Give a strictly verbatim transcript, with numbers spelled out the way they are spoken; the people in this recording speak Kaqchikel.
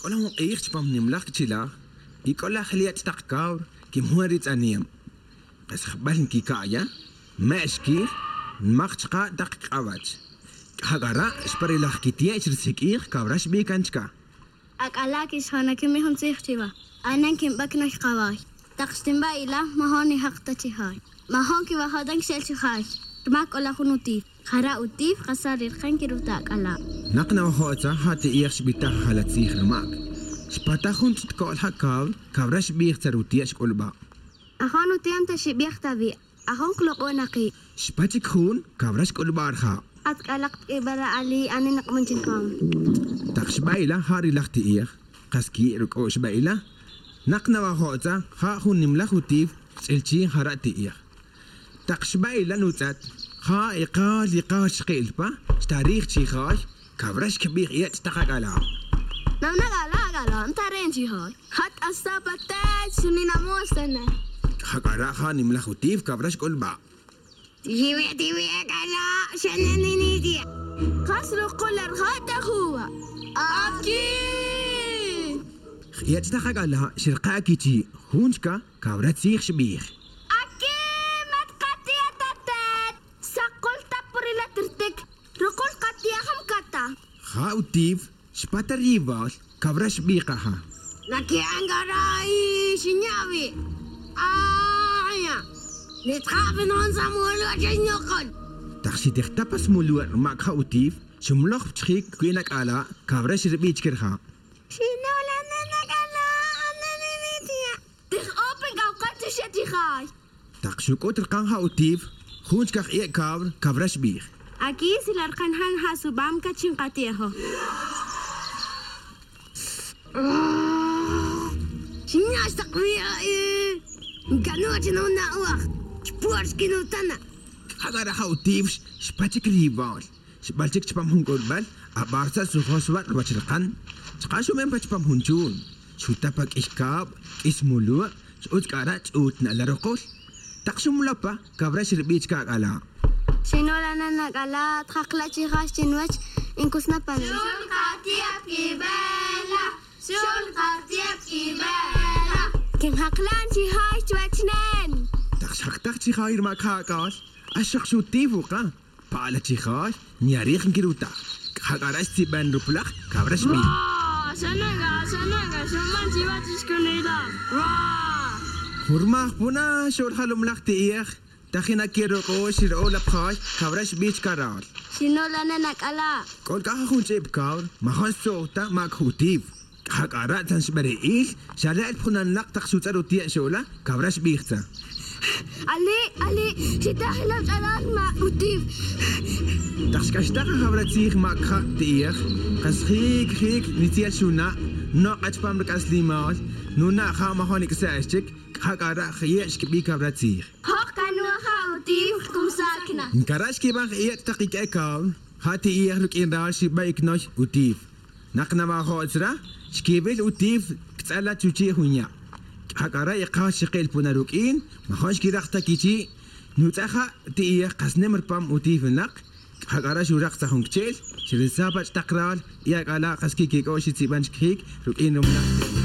K'ola jun q'iij chpam nimlaj k'chelaj y k'ola jliach taq kawr kimjun ritz'aniem. Qas jb'al nkika'ya, me'x kij, nmaq chqa taq k'awach. K'jak'ara' xparilaj kitie' xrisik'ij kawra xb'ikan chka. Ak'ala kixjana kimi jun tzij chiwa. Anan kinb'ak nay qaway. Taq xtinb'a ila mahon nijaqta chijay. Mahon kiwajodan kxel chijay. Rma k'ola jun utif. Jara utif qasar rirqan kiruta ak'ala. Naq nawajo'tza ja ti'ij xb'itaj jalatzij rmak. Xpata jun ch'itko'l ja kawr, kawra xb'ij tzarutie' xk'ulb'a. Ajon utiam ta xib'ij tabi. Ajon qloq'on aqi. Xpachik jun, kawra xk'ulb'a rja. Atk'alaq tk'ib'ara ali anin naq'munchinpam. Taq xb'a'ila ja rilaj ti'ij, qas ki' ruk'o xb'a'ila. Naq nawajo'tza ja jun nimlaj utif tz'ilchi jara ti'ij. Taq xb'a'ila nutz'at, ja iqal iqal xqilpa, xtarij chijay, kawra xkb'ij yech taq ak'ala. Namnagala agala ntaren chijay. Hat asapatach suninamostana. Jak'ara ja nimlaj utif kawra xk'ulb'a. Tiwi tiwi ak'ala xananiniti. Qas ruqul arjata huwa. Aki! Yech taq ak'ala xirqa kichi, junchka kawra tzij xb'ij. Aki matqatia tatat. Saqul tapurila tirtik. Ruqul qatia hamkata. Ja utif xpata rival, kawra xb'iqaja. Naki angarai xinyawi. Aya. Nitqabin on samuelu achiñuqul. Taq xitijtapas muluar mak ja utif, xumloj chjik kwin ak'ala, kawra xirb'ich kirja. Xinola nanakala ananinitia. Tij open kawqachu xatijay. Taq xuk'ut rqan ja utif, junchka ie kawr, kawra xb'ij. Aquí silarqan han hasubam kachinqatiejo. Xinax taqwiya Nkanoch no nawaj. Chpuarski no tana. Jagara ja utif xpachik rival. Xb'alchik chpam jun k'ulb'al, ab'arsa sujoswat wachrqan. Chqa xumen pa chpam jun chun. Xutapa k'ix kab', k'is mulu', xutz k'ara ch'ut na'laroqol. Taq xumlapa, kawra xirb'ich ka'k'ala. Xinola nanakala tjaqla chijax chinwach inkusnapana. Xulqatiap kibela. Xulqatiap kibela. Kinjaqlan chijay chwachnen. Taq xaqtaq chijay rma ka'k'al, axaq xutif uqa. Pa'la chijay, ñarij nkirutaj. Jagara xtzib'an ruplaj, kawra xb'ij. Wa, xanaga, xanaga, xuman chiwachishkunila. Wa. Jurmaj puna xor jalumlaj ti'ij, tajina kirok'o xir'o lapjay, kawra xb'ich karal. Xinola nanakala. K'ol k'aja jun ch'ib kawr, majon sowta mak jutif. Jak'ara tan xb'ere'il, xala'l pjunanlaq taq xutz'ar utie' xola, kawra xb'ijtza. Ali, ali, xitajila ch'alal ma utif. Taq xk'axtaq jawra tzij mak ja ti'ij, qas jik jik nitziel xuna, no q'achpam rik'aslimal, nuna ja majon ik'sa'x chik, jak'ara jiye' xkib'i kawra tzij. Hoq kanuja utif kumsakna. Nkara xkib'an jiye' taq ik'e kawr, ja ti'ij ruk'in ral xib'a iknoy utif. Naq nawajo'tzra, xkib'il utif ktz'ala chuchi' junya'. Jak'ara iqaj xiqil puna ruk'in, majon xkiraq ta kichi', nutz'aja ti'ij qas nem rpam utif naq, jak'ara xuraq sa jun kchel, xirisapach taq ral, y ak'ala qas kikik'o xitzib'an xkjik ruk'in rumlaj.